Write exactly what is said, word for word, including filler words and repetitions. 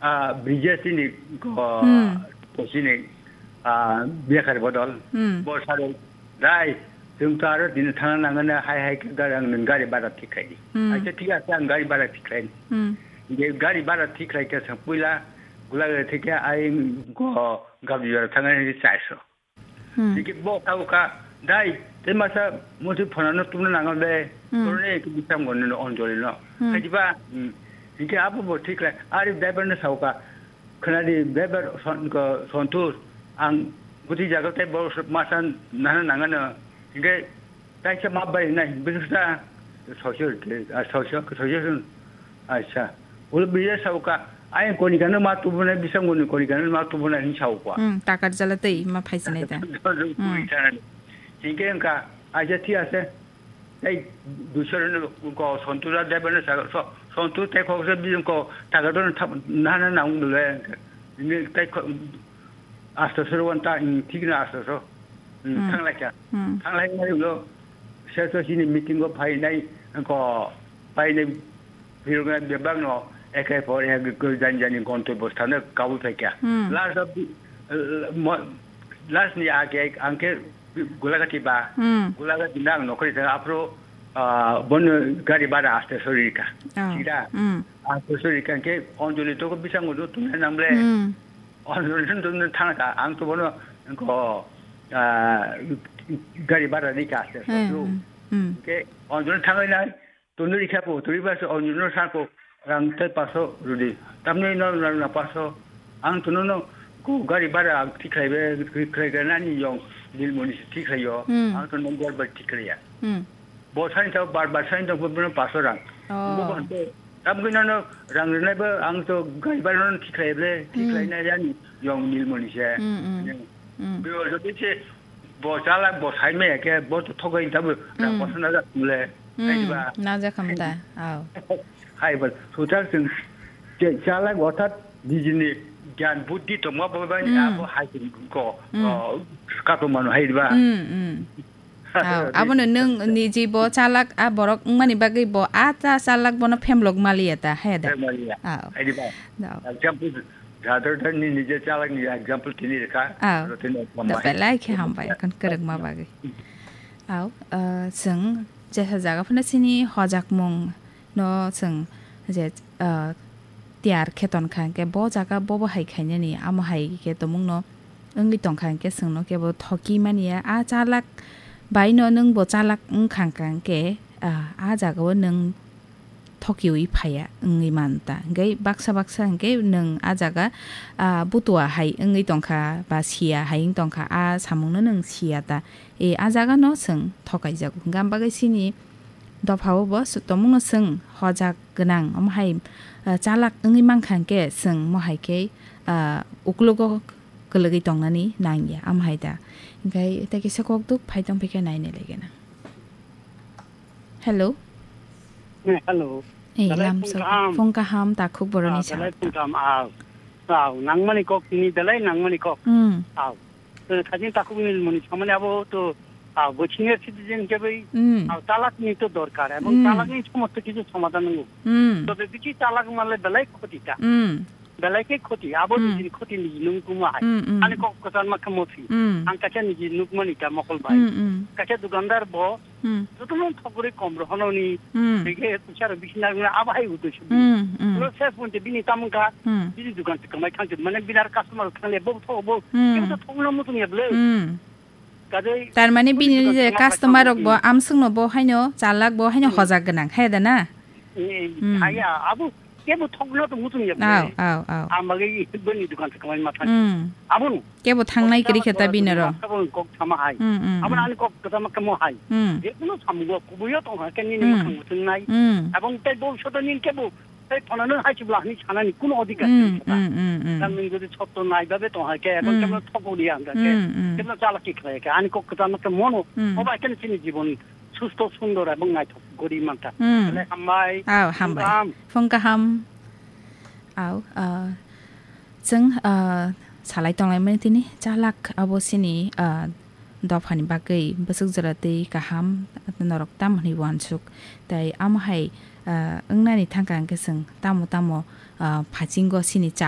Ah, Brijesh ni ko, Hmm. ko sini, ah, Biakar Bodol. Hmm. Bo saro, "Dai, chwng to aro dini thangna nangani, hai hai khe gari, ang nwng gari bara thik khai di." Hmm. Acha, thik ase, ang gari bara thik khai. Hmm. Je gari bara thik khai khe sa puila, gula gari thik khe ai ko gabdi bara thangani chaiso. Hmm. Hingke bo tau ka, "Dai, tei masa muti phonano tumna nango de, Hmm. korone ke bisam gonno Anjali no." Hmm. Kaiba, hmm, hingke abo bo thik lai, ari driver no sau ka, "Khwnadi driver son-, ko, Santosh, ang buti jaga tei bo masa nana nangano." Hingke taisa ma bai nai, bisingsa social, ah, social, social. Acha. Ulo biyar sa uka, ayang konikano ma tubunai, bisang goni konikano ma tubunai hin sa ukwa. Hmm, takar jala tei ma phaisinai da. Hmm. Hingke engka, acha, thik ase. Ei, dusar no ko Santosh driver no sa, so, Santosh tei khoksa bijing ko takar don thap, nana nang dule. Ini tei ko, Astaso wan ta, hmm, thik na astaso. Hmm, Hmm. Thanglai kha. Hmm. Thanglai nai ulo, sir to sini meeting o phai nai, ko phai nai, phirok nai bebak no, ekai por ek ko jan jani gonto bostano kabu phai kha. Hmm. Last of the, uh, mo-, last ni ake ang khe Gulagati ba, Hmm. Gulagati nang nokri ta apro, ah, bon gari bara aste sori ka. Oh. Sida. Hmm. Aste sori ka ke Anjali to ko bisang udo tu nang ble. Hmm. Anjali tun tun thang ka, ang to bono ko, ah, gari bara ni ka aste Hmm, so. Hmm. Ke Anjali thang nai, tun ri kha po, tun ri ba so Anjali no sa ko, rang tai paso rudi. Tamni no rang na paso. Ang tun no ko gari bara ang thik khai be, thik khai ga nani yong dil moni si thik khai yo. Hmm. Ang tun no gari bara thik khai ya. Hmm. Bo sain tau bar bar sain tau bo paso rang. Oh. Bo ko ante tam gina no rang rinai ba ang to gari bara no thik khai ble, thik Hmm. khai na yani yong nil moni se. Hmm, hmm. Ne. Hmm. Bo jodi se bo chala bo sai me ke bo to thogai ta bo rang Hmm. paso na ja le. Hmm. Hai ba. Na ja kham da. Au. Hai ba. Sutar sing je chala othat dijini gyan buddhi to ma ba ba Hmm. abo hai ko. Hmm. Oh, kato mano hai ba. Hmm, hmm. Aw, abono nwng niji bo chalak a borok wngmani bagwi bo a cha chalak bono phemlok maliya ta, he da? Phemlok maliya. Aw. Hai di ba? Aw. Example, jador dan ni nije chalak ni example tini rekha. Aw. Aro tini Da hambai. Belai khe hambai, kon kwrwngma bagwi. Aw, uh, chwng jesa jaga phano chini hojakmung no chwng je, ah, tiyar khe ton kha, hwnkhe bo jaga bobo hai khainani, amo hai khe tongmungno wngwi tong kha, hwnkhe chwngno kebo thoki manya. A chalak bai no nwng bo chalak wng kha, hwnkhe, ah, a jagao nwng thokiwi phaiya wngwi man ta. Hwnkhe baksa baksa hwnkhe nwng a jaga, ah, butua hai wngwi tong kha ba siya hai wng tong kha, a samungno nwng siya ta. E, a jaga no chwng thokai jago. Hwnkhe am bagwi chini dophao bo s-, tongmungno chwng hojak gwnang, omo hai, ah, chalak wngwi mankha hwnkhe chwng mo hai khe, ah, uklogo kwlwgwi tongnani nangya, omo hai da. Hwnkhe tei kisa kok duk phai tong phikhe nainai lai gana. Hello. Eh, hello. Eh, Belai lamso phung kaham. Phung kaham, takhuk boroni Ah, sa belai ta. Phung kaham, ah. Ah, nangmani kok tini belai nangmani kok. Hmm. Ah. Eh, khajin takhuk ni muni samani abo to, ah, bo senior citizen ke bai, Hmm. ah, chalak ni to dorkar, ebong Hmm. chalak ni somosto kichu somadhan nango. Hmm. Tobe bichi chalak male belai khoti ta. Hmm. Belai ke khoti, abo Hmm. nijini khoti niji nung kuma hai. Hmm, hmm. Ani kok kwchar ma khe mosi. Hmm. Ang kaisa niji nukmani ta mokol bai. Hmm, hmm. Kaisa dukandar bo, Hmm. jotono thok guri kom rohono ni, Hmm. bege kuchar bisi nang na abo hai uto sibi. Hmm, hmm. Lo ses punte bini tamung kha, Hmm. bini dukan te kamai thang mane binar customer thang le bo thok bo, Hmm. kebo to thok no mutung ya ble. Hmm. Kadai Tar mane bini bini dukan je te kamai customer thang rok bo mutung. Amswk no bo haino chalak bo haino Hmm. Hojak gwnang, hai da na? Eh, Hmm. Haya, abo kebo thokno to muchung ya. Aw, aw, aw. Amage bini dukan se kamai ma thang. Hmm. Abon. Kebo thangnai kori khe ta bini ro. Kok sama hai. Hmm, hmm, Abon hmm. Ani kok sama kamo hai. Hmm. Je kuno samugo kubuyo tong ha keni ni Hmm. Muchung nai. Hmm. Abon tai bo soto nin kebo tai phonano hai chibla hani sanani kuno odikar Hmm, tong sa. Hmm, hmm, hmm. Nang ning jodi sotto nai babe tong ha ke, abon Hmm. Kemo thok odi ang ka ke. Hmm, hmm. Kemo chala ki khlai ke. Ani kok sama ke mono. Hmm. Oba keni sini jibon susto sundor ebong naithok gori mankha. Hmm. Belai hambai. Aw, hambai. Phung kaham. Phung kaham. Aw, ah, chwng, ah, salai tonglaimani tini chalak abo sini, ah, dophani bagwi bwswk jora tei kaham norok tamo hwnwi uansuk. Tai amo hai, ah, wngnani thangkha hwnkhe chwng tamo tamo, ah, phaichingo sini cha